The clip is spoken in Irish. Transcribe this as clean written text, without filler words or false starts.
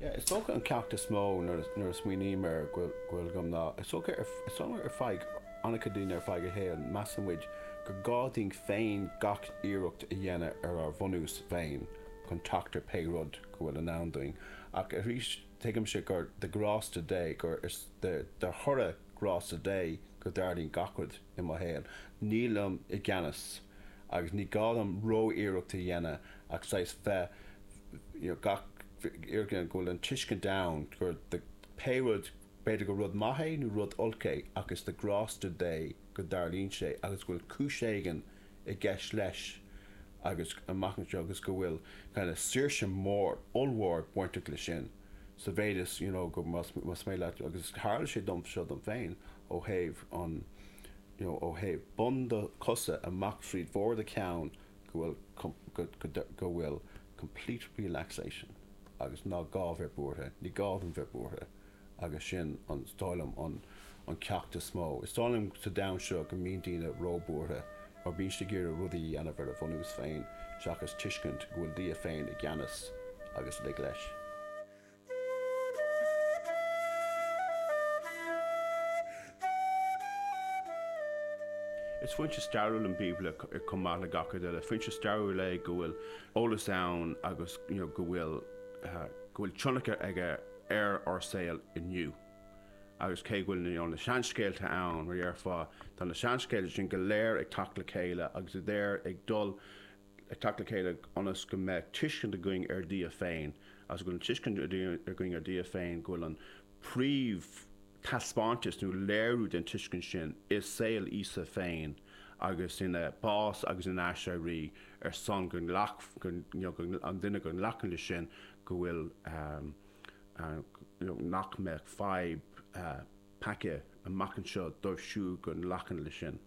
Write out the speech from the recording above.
Yeah, is dócha an ceacht is mó nuair a smaoiním air go bhfuil agam ná, is dócha is dócha ar feadh an-chuid daoine ar feadh a shaoil, measann muid gur gá dúinn féin gach iarracht a dhéanamh ar ár mbunús féin chun teacht ar pé rud go bhfuil i ndán dúinn. Ach arís, tuigimse gur de ghrásta Dé, gur is de thoradh grásta Dé go dtarlaíonn gach rud i mo shaol. Nílim i gceannas agus ní gá dom ró-iarracht a dhéanamh ach saghas bheith, you know, gach iarracht a dhéanamh go bhfuil an tuiscint ann gur de pé rud, b'fhéidir gur rud maith é nó rud olc é ach is de ghrásta Dé go dtarlaíonn sé agus go bhfuil cúis éigin i gceist leis agus amach anseo agus go bhfuil kind of saoirse mór, ollmhór bainteach leis sin sa mhéid is, you know, go más maith leat agus tharla sé dom seo dom féin ó thaobh an, you know, ó thaobh bun do chosa amach fríd bharr do cheann go bhfuil go, go, go bhfuil complete relaxation agus ná gá bheith buartha, ní gá dom bheith buartha. agus sin an, is dóigh liom, an an ceacht is mó. Is dóigh liom sa domhan seo go mbíonn daoine ró-bhuartha mar bíonn siad ag iarraidh rudaí a dhéanamh ar a bhunús féin seachas tuiscint go bhfuil Dia féin i gceannas agus lig leis. Is foinse stairiúil an Bíobla chomh maith le gach rud eile. Foinse stairiúil é go bhfuil eolas ann agus you know go bhfuil go bhfuil tionchar aige ar ár saol inniu. Agus cé go bhfuil na seanscéalta ann, mar dhéarfá, tá na seanscéalta sin go léir ag teacht le chéile agus iad ag dul ag teacht le chéile ionas go mbeadh tuiscint againn ar Dhia féin agus go bhfuil an tuiscint againn ar Dhia féin, go bhfuil an príomh taispeántas nó léiriú den tuiscint sin i saol Íosa féin agus ina bás agus ina aiséirí ar son go nglac, go, you know, an duine go nglacann leis sin go bhfuil nach mbeadh fadhb peaca amach anseo dóibh siúd go nglacann leis sin.